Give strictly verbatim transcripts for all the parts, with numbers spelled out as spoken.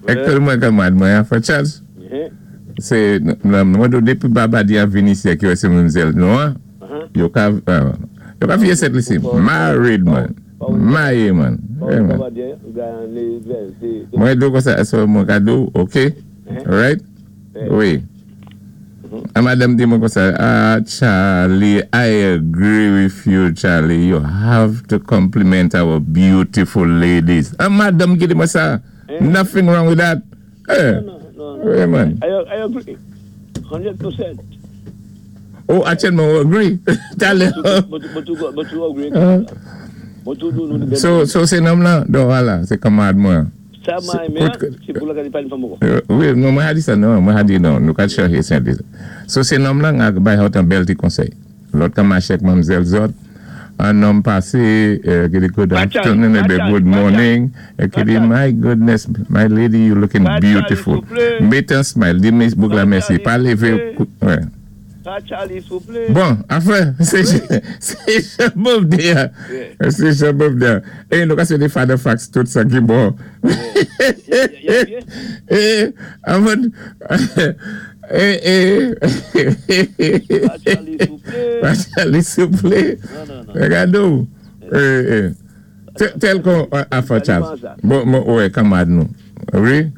Ek mwen kanmad mwen, Afè Charles. Sé, mwen do dépi Babadi a vini isi ki wè sé manmzèl nou an, yo ka, yo ka fiye sèt lisi. Married man. Married man. Mwen do kon sa, so mwen ka do, ok? Right? Wi. A madanm di mwen kon sa, ah, Charlie, I agree with you, Charlie. You have to compliment our beautiful ladies. A madanm ki di mwen sa, nothing wrong with that. Eh, No, no, no. wi man. I, I agree. Hundred percent. Oh, actually, I agree. Tale. But, but, you, but you agree. But you do know the So, so sé nonm lan, do wala, sé kanmad mwen. Sa mwen men, sé pou la ka di pale fanm ankò. Wi, non, mwen a di sa, non, mwen a di non, nou ka chanje sen di. So sé nonm lan, a bay hot an bèl ti konsèy. Lòt kan maché ak manmzèl zòt, an nonm pasé, ki di good afternoon, ébé good morning, é ki di, my goodness, my lady, you looking beautiful. Mét an smile, di mè bouk la mèsi, pa lévé, wè. Pa Charlie, souplé. Bon, afè, sé jan birthday a. Sé jan birthday a. É, nou ka sé di father facts tout sa ki bon. É, avan, é, é. Pa Charlie, souplé. Pa Charlie, souplé. Non, non, non. Regadou. É, é. Tel kon, afè Charles. Bon, bon, wè, kanmad nou. Wi?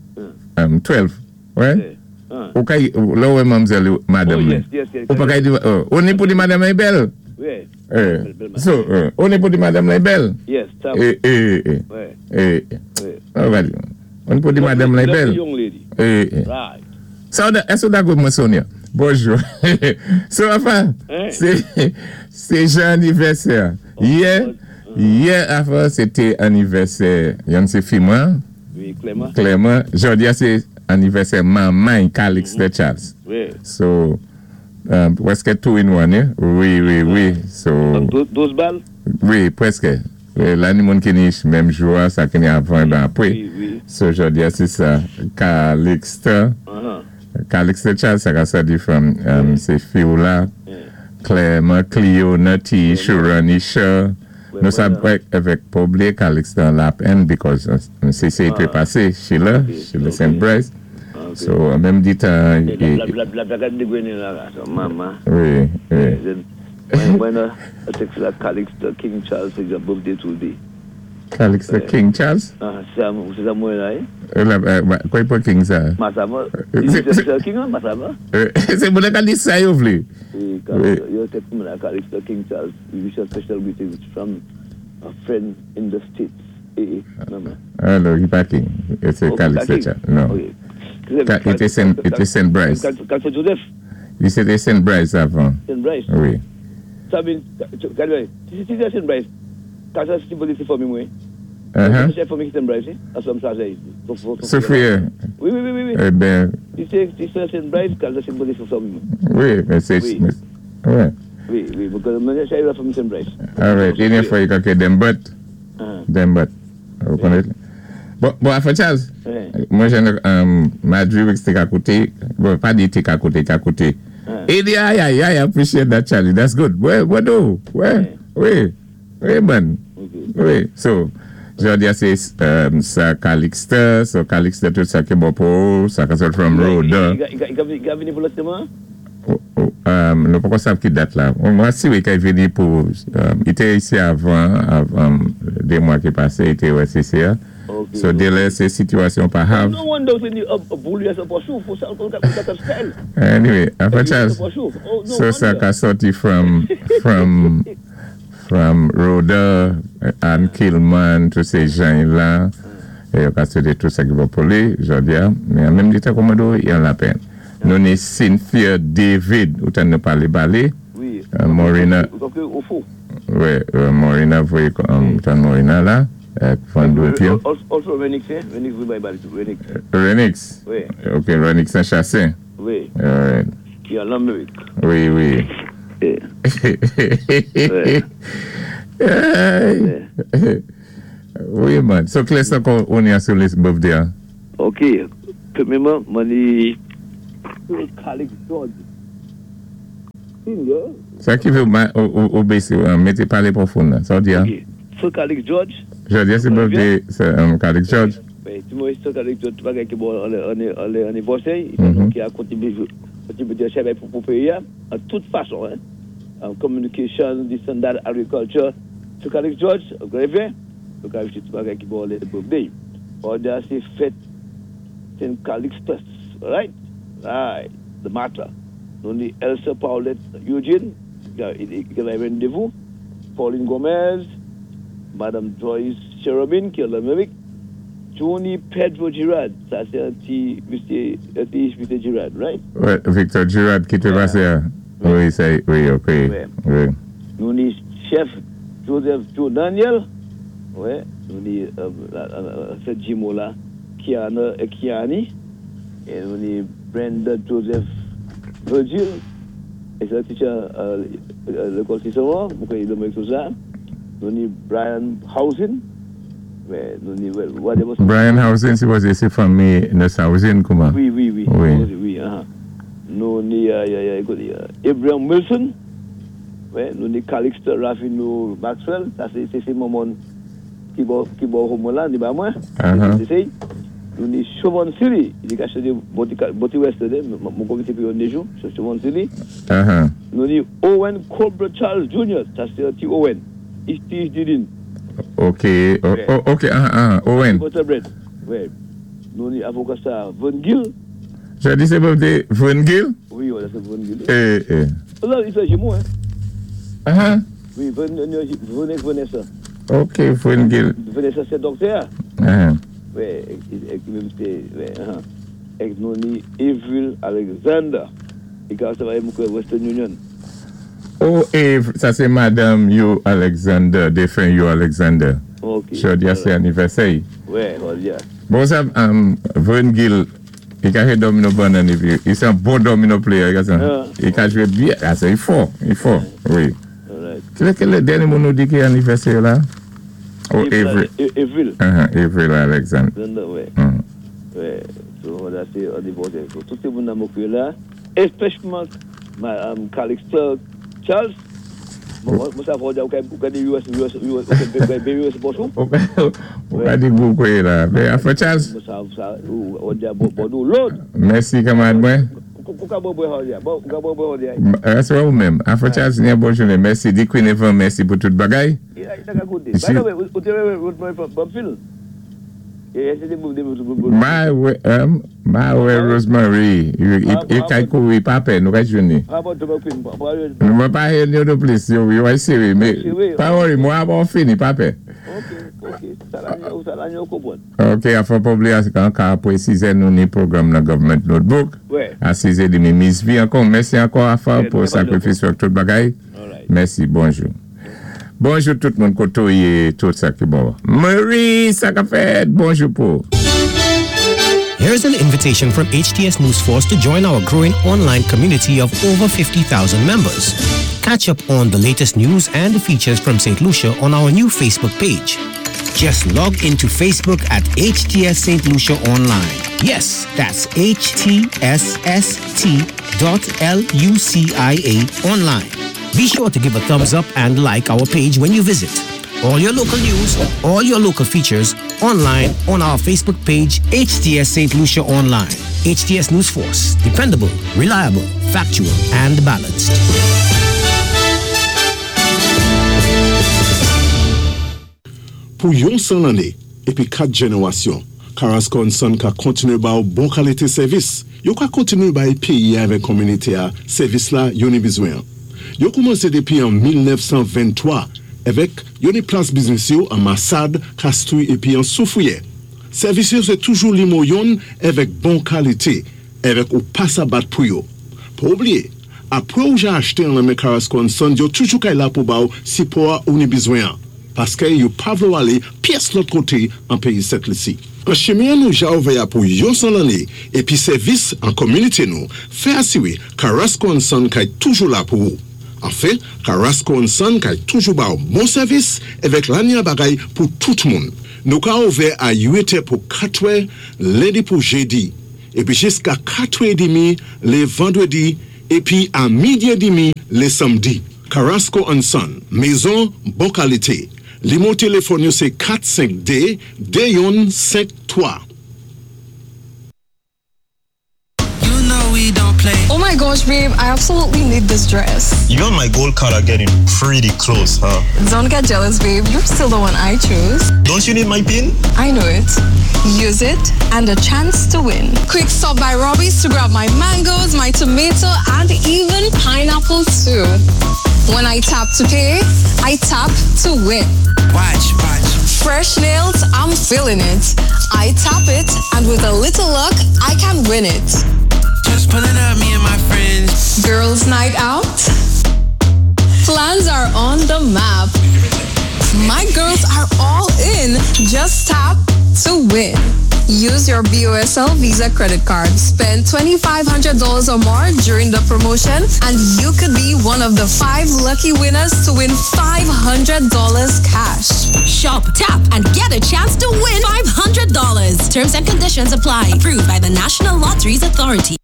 twelve, wè? Ou ka, lò wè manmzèl madanm Oh, ni. yes, yes, yes. Ou pa ka di, ou ni pou di madanm ni bèl? Wi. So, ou ni pou di madanm ni bèl? Yes, sa. É, é, é. Wè. É, Wè. Ou va di, ou ni pou di madanm ni bèl? Lovely young lady. É, é. Right. Sa ou da, èske ou dakò mwen Sonia? Bonjou. So, afa, sé, sé jan anivèsè. Yè, yè, afa, sé té anivèsè, yon sé fi mwen. Wi, Clément. Clément. Jòdi a sé anivèsè manman Calixte Charles. Wi. So, um, pwèské two in one, eh? Wi, wi, wi. So, Douz bal? Wi, pwèské. La ni moun ki ni menm jou a, sa ki ni avan, ben apwé. Wi, wi. So, jòdi a sé sa, Calixte. Uh-huh. Calixte Charles, sa ka sa di from, um, sé fi ou la. Clément, Clio, Nati, Shuranisha. Nou sa wè, avèk pa blié Calixte an lap N because sé sé te pasé, Sheila, Sheila Saint Bryce. So, an menm di tan... La la la de gwene la la, so mama. Wi, wi. Mwen mwen text la Calixte King Charles is your birthday today. Calixte King Charles? Ah, sé sa mwen la, eh? La, kwa pou King sa? Masama. Se King an, Masama. Sé moun ka di sa yo vlé. Yo text mwen la Calixte King Charles. We wish a special greetings from a friend in the States. Eh, eh, mama. Ah, non, i pa King. Sé Calixte Charles. Non. I té Saint Bryce. Calixte Joseph? I sé té Saint Bryce avan. Saint Bryce? Wi. Sa vin, si sé Saint Bryce, ka sa si pose si fanmi mwen. Se fanmi ki Saint Bryce, a som sa jay. Sophia. Wi, wi, wi, wi. Eh ben. Si sé si sé Saint Bryce, ka sa si pose si fanmi mwen. Wi, men sé... Wi. Wi, wi, mwen se la fanmi Saint Bryce. Alright, yon fwa yon kake dem but. Dem but. Ou konnen? Bon, bon, afè Charles, mwen jen, Madrid wik te ka koute, bon, pa di te ka koute, ka koute. E di, ay, ay, ay, I appreciate that, Charlie, that's good. Wè, wè do, wè, wè, wè, man. Wi, so, jòdi a sé sa Calixte, so Calixte tout sa ki bon pou, sa ka sot from Rhoda. I ka vini pou lòt seman? Nou pa kon sav ki dat la. Mwen si wè ka vini pou, i té isi avan, avan, dé mwa ki pasé, i té wè C C A. So, délè sé sitiyasyon pa hav. No wonder se ni boulye sa pa chou, fò sa ka style. Anyway, afè Charles, so sa ka soti from, from, from Rhoda, Anne Kilman, tout sé jan la, e yo ka soti tout sa ki bon pou li, jòdi a, men an menm di ta komado, yon la pen. Nou ni Cynthia David, ou tan nou pale bale, Morina, wi, Morina voye, tan Morina la, Van Doutio. Also Renix, eh? Renix voye bay bale tou, Renix. Renix? Wi. Ok, Renix Saint-Chassin. Wi. Alright. Ki an Amerik. Wi, wi. Eh. Wi, man. So, kilès ankò ou ni sou list birthday a? Ok. Pwèmyèman, mwen ni Calix George. Senior. Sa ki vé ou bési, mété palé pwofon la. Sa ou di a? Ok. So Calix George. Jòdi a sé birthday Calix George. Oui, tout le monde avec tout bagay ki bon anivèsè, ki a kontribiye kontribiye pou pou péyi an tout fason, hein. En communication, this and that, agriculture. So Calix George, greve, donc avec tout bagay ki bon lé birthday. Or sé fèt Saint Calixtus, right? Right, the matter. Nou ni Elsa Paulette Eugene, ki a randevou, Pauline Gomez, Madame Joyce Cherubin, ki an Lamérik, Johnny Pedro Girard, sa sé yon ti Mister yon ti Mister Girard, right? Wi, Victor Girard ki té pasé. Wi, sé, wi, OK. Wi. Wi. Nou ni Chef Joseph Joe Daniel, wi, nou ni euh, sé jimo la, Kiana Kiani, é nou ni Brenda Joseph Virgil, é sé teacher euh, lékòl Cicéron, pou ki tout sa. Nou ni Brian Housing, wi, nou ni, whatever. Brian Housing, sé sé fanmi Housing, kouman? Wi, wi, wi. Wi. Wi, uh-huh. Nou ni, euh, euh, ékouté, euh, Abraham Wilson, wi, nou ni Calixte Rafino Maxwell, sa sé sé manman ki bò ki bò la, ni ba mwen. Uh-huh. Sé sé. Nou ni Chauvin City, li ka aché Boti West, mon komité pou yon jou, Chauvin City. Uh-huh. Nou ni Owen Cobra Charles Junior, sa sé ti Owen. Steve Didin. OK, o, o, OK, ah, ah, Owen. Butterbread. Wi. Nou ni avoka sa Von Gill. J'ai dit c'est birthday Von Gill? Wi, wi, sé Von Gill. Eh, eh. La, li sé jimo, hein. Uh-huh. Wi, Von, Von Vanessa. OK, Von Gill. Vanessa, sé doktè. Uh-huh. Wi, é, é, menm sé, wi, uh-huh. É nou ni Avril Alexander. É ka travay pou Western Union. Oh, Ave, sa sé Madame Hugh Alexander, défen Hugh Alexander. OK. Jòdi a sé anivèsè. Wi, oh, yeah. Bon, sa, um, Von Gill, li ka jwé domino bannan, épi, li sé yon bon domino player, li ka, Ah. li ka jwé byen, ah, sé fò, li fò, wi. All right. Ki kèl dènyé moun nou di ki anivèsè la? Oh, Avril. Avril. Uh-huh, Avril Alexander. Alexander, wi. Mm. Wi. So, la, sé anivèsè. So, tout moun nan la, espesyalman um, Calixte Charles. Mwen, mwen, sa fò di, ou ka di U S, U S, U S, U S, bonjou. Ou ka di boukou la. Men, afè Charles, Mwen sa, sa, ou, ou di, bon, bon, lòd. Mèsi kanmarad mwen. Kou ka bon bon bon, ka bon bon. Se ou menm. Afè Charles, yon bòn jounen. Mèsi. Di Queen Evan, mèsi pou tout bagay. By the way, ou té wè Bob Phil? Ma wè, um, ma wè Rosemary, i kay kouri pa pè, nou kay jouni. Mwen pa hen yo do plis, yo yo siri, me, pa worry, mwen ap fini, pa pè. Ok, ok, Ok, a fò pa bliye an ka apwé sizè nou ni pwogram nan Government Notebook. A sizè demi Miss V ankò, mèsi ankò a fò pou sakrifis wèk tout bagay. Mèsi, bonjou. Bonjou tout moun koto ye tout sa ki bon. Marie, sa ka fèt, bonjou pou. Here's an invitation from H T S News Force to join our growing online community of over fifty thousand members. Catch up on the latest news and features from Saint Lucia on our new Facebook page. Just log into Facebook at H T S Saint Lucia Online. Yes, that's H T S S T dot L U C I A online. Be sure to give a thumbs up and like our page when you visit. All your local news, all your local features, online on our Facebook page, H T S Saint Lucia Online. H T S News Force, dependable, reliable, factual, and balanced. Pou yon san lanné, épi kat jénéwasyon, Carrasco and Son ka kontiné ba ou bon kalité sèvis. Yo ka kontiné bay péyi avèk kominité a sèvis la yo ni bizwen. Yo koumansé dépi an mil nèf san venntwa avèk yo ni plas biznis yo an Massade, Castries épi an Soufrière. Sèvis yo sé toujou nimo youn avèk bon kalité, avèk ou pa sa bat pou yo. Pa oubliyé, apwé ou ja achté an men Carrasco and Son, yo toujou kay la pou ba ou sipò ou ni bizwen. Paské yo pa vlé ou alé pyès lòt koté an péyi Sent Lisi. An chimen nou ja ouvè pou yon san lanné épi sèvis an kominité nou, fè asiwé Carrasco and Son kay toujou la pou ou. Anfen, Carrasco and Son kay toujou ba ou bon sèvis avèk lanya bagay pou tout moun. Nou ka ouvè a uit pou katwè, lendi pou jédi, épi jiska katwè demi lé vandwédi, épi a midi demi lé samdi. Carrasco and Son, mézon bon kalité. Nimewo téléfòn yo sé kat senk de de youn senk twa. You know we don't play. Oh my gosh, babe, I absolutely need this dress. You and my gold card are getting pretty close, huh? Don't get jealous, babe. You're still the one I choose. Don't you need my PIN? I know it. Use it and a chance to win. Quick stop by Robbie's to grab my mangoes, my tomato, and even pineapple too. When I tap to pay, I tap to win. Watch, watch. Fresh nails, I'm feeling it. I tap it, and with a little luck, I can win it. Just pulling up, me and my friends. Girls' night out? Plans are on the map. My girls are all in. Just tap to win. Use your B O S L Visa credit card. Spend two thousand five hundred dollars or more during the promotion, and you could be one of the five lucky winners to win five hundred dollars cash. Shop, tap, and get a chance to win five hundred dollars. Terms and conditions apply. Approved by the National Lotteries Authority.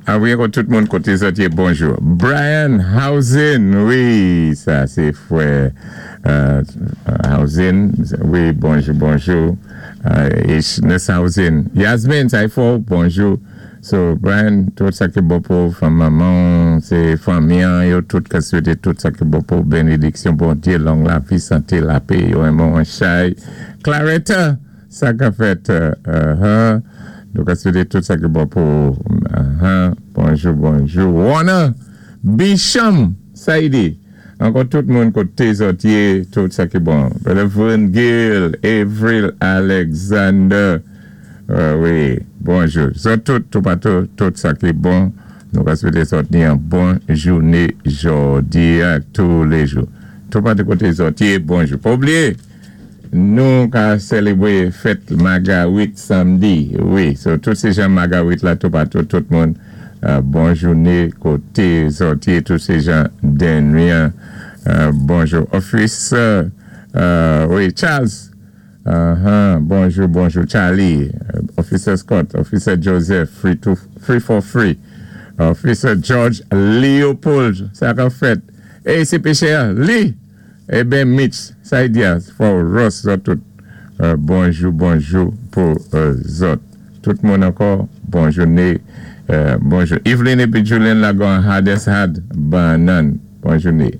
Ah wi, ankò tout moun koté zòt yé, bonjou. Brian Housen, wi, sa sé fwè euh, Housen, wi, bonjou, bonjou. Euh, Ishnes Housen. Yasmin, sa fò, bonjou. So, Brian, tout sa ki bon pou fanm manman, sé fanmi, yo tout ka swété tout sa ki bon pou bénédiksyon, Bondyé, long lavi, santé, lapè, yo enmen an chay. Claretta, sa ka fèt, uh, uh, nou ka swété tout sa ki bon pou, uh, bonjou, bonjou. Warner, Bisham, Saidi, ankò tout moun koté zòt yé, tout sa ki bon. Brother Vern Gill, Avril Alexander, euh, wi, bonjou. So, tout, tout patou, tout sa ki bon, nou ka swété zòt ni an bon jouné jòdi a tou lé jou. Tout patou koté zòt yé, bonjou. Pa oubliyé, nou ka sélébwé fèt Magawit samdi, wi. So, tout sé jan Magawit la, tout patou, tout moun, euh, bon jouné koté zòt yé, tout sé jan Denrian, euh, bonjou. Officer, euh, wi, Charles, uh-huh, bonjou, bonjou, Charlie, Officer Scott, Officer Joseph, free to, free for free, Officer George Leopold, sa ka fèt. E, sé péchè, Lee, eh ben Mitch, sa y di a, for Ross, zòt tout, euh, bonjou, bonjou pou euh, zòt. Tout moun ankò, bon jouné, euh, bonjou. Evelyn épi Julian Lagon, hardest hard, banan, bon jouné.